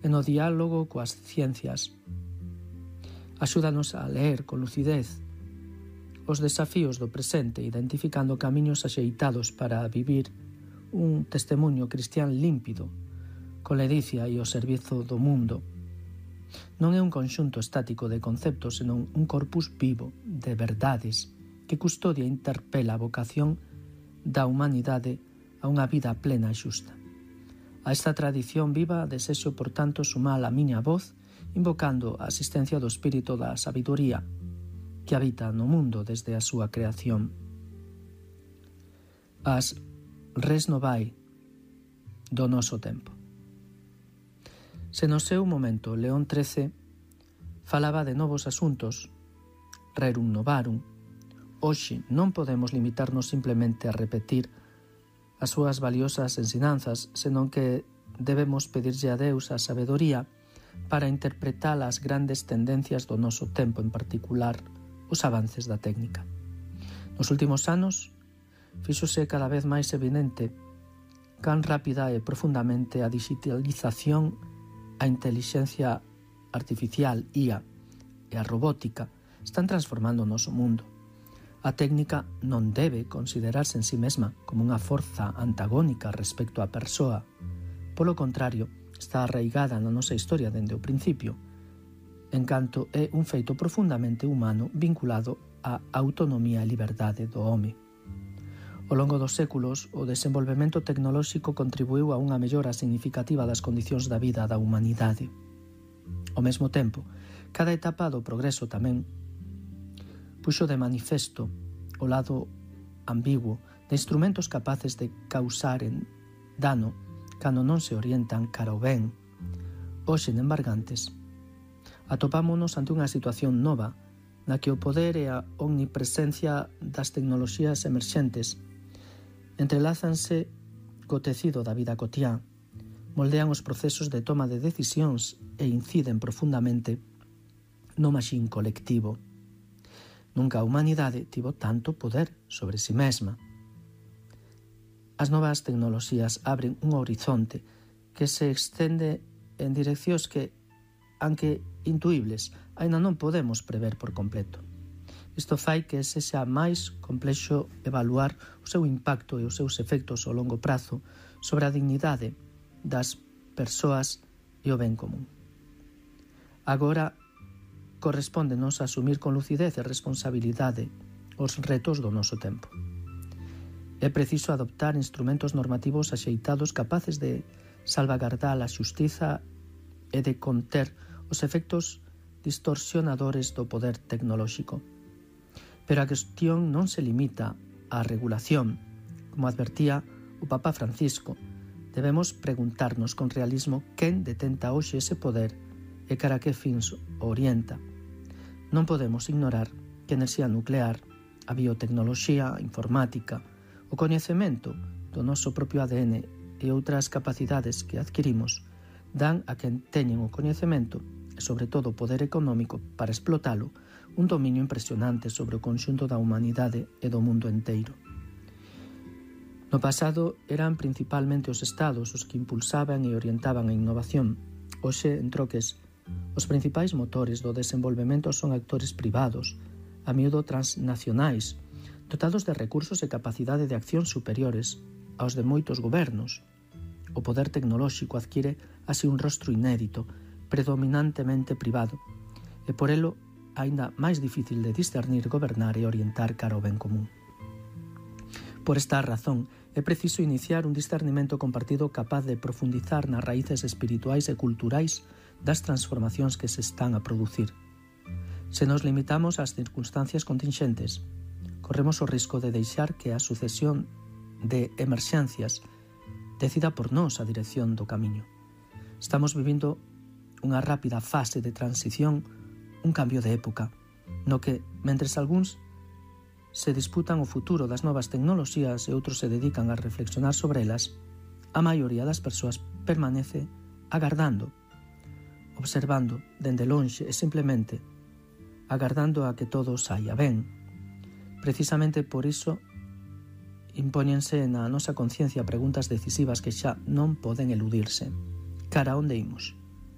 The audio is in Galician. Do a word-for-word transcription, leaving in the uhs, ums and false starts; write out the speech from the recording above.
e no diálogo coas ciencias. Axúdanos a ler con lucidez os desafíos do presente, identificando camiños axeitados para vivir un testemunho cristián límpido, con ledicia e o servizo do mundo. Non é un conxunto estático de conceptos, senón un corpus vivo de verdades que custodia e interpela a vocación da humanidade a unha vida plena e xusta. A esta tradición viva desexo, por tanto, sumar a miña voz, invocando a asistencia do espírito da sabiduría que habita no mundo desde a súa creación. As res novae do noso tempo. Se no seu momento León trece falaba de novos asuntos, rerum novarum, hoxe non podemos limitarnos simplemente a repetir as súas valiosas ensinanzas, senón que debemos pedirlle a Deus a sabedoría para interpretar as grandes tendencias do noso tempo, en particular os avances da técnica. Nos últimos anos, fíxose cada vez máis evidente can rápida e profundamente a digitalización, a intelixencia artificial, I A, e a robótica están transformando o noso mundo. A técnica non debe considerarse en sí mesma como unha forza antagónica respecto á persoa. Polo contrario, está arraigada na nosa historia dende o principio, en canto é un feito profundamente humano vinculado á autonomía e liberdade do home. Ao longo dos séculos, o desenvolvemento tecnolóxico contribuiu a unha mellora significativa das condicións da vida da humanidade. Ao mesmo tempo, cada etapa do progreso tamén puxo de manifesto o lado ambiguo de instrumentos capaces de causar en dano cando non se orientan cara ao ben. Hoxe, en Embargantes, atopámonos ante unha situación nova na que o poder e a omnipresencia das tecnoloxías emerxentes entrelázanse co tecido da vida cotiá, moldean os procesos de toma de decisións e inciden profundamente no maxín colectivo. Nunca a humanidade tivo tanto poder sobre si mesma. As novas tecnoloxías abren un horizonte que se extende en direccións que, aunque intuibles, aínda non podemos prever por completo. Isto fai que sexa máis complexo evaluar o seu impacto e os seus efectos ao longo prazo sobre a dignidade das persoas e o ben común. Agora, correspóndenos asumir con lucidez e responsabilidade os retos do noso tempo. É preciso adoptar instrumentos normativos axeitados capaces de salvagardar a xustiza e de conter os efectos distorsionadores do poder tecnolóxico. Pero a cuestión non se limita á regulación. Como advertía o Papa Francisco, debemos preguntarnos con realismo quen detenta hoxe ese poder e cara a que fins o orienta. Non podemos ignorar que a enerxía nuclear, a biotecnoloxía, a informática, o coñecemento do noso propio A D N e outras capacidades que adquirimos dan a quen teñen o coñecemento e, sobre todo, o poder económico para explotalo, un dominio impresionante sobre o conxunto da humanidade e do mundo enteiro. No pasado eran principalmente os estados os que impulsaban e orientaban a innovación. Hoxe, en troques, os principais motores do desenvolvemento son actores privados, a miúdo transnacionais, dotados de recursos e capacidade de acción superiores aos de moitos gobernos. O poder tecnolóxico adquire así un rostro inédito, predominantemente privado, e por elo aínda máis difícil de discernir, gobernar e orientar cara ao ben común. Por esta razón, é preciso iniciar un discernimento compartido capaz de profundizar nas raíces espirituais e culturais das transformacións que se están a producir. Se nos limitamos ás circunstancias contingentes, corremos o risco de deixar que a sucesión de emerxencias decida por nós a dirección do camiño. Estamos vivindo unha rápida fase de transición, un cambio de época, no que, mentres algúns se disputan o futuro das novas tecnoloxías e outros se dedican a reflexionar sobre elas, a maioría das persoas permanece agardando, observando dende lonxe e simplemente agardando a que todo saia ben. Precisamente por iso impóñense na nosa conciencia preguntas decisivas que xa non poden eludirse. Cara onde imos?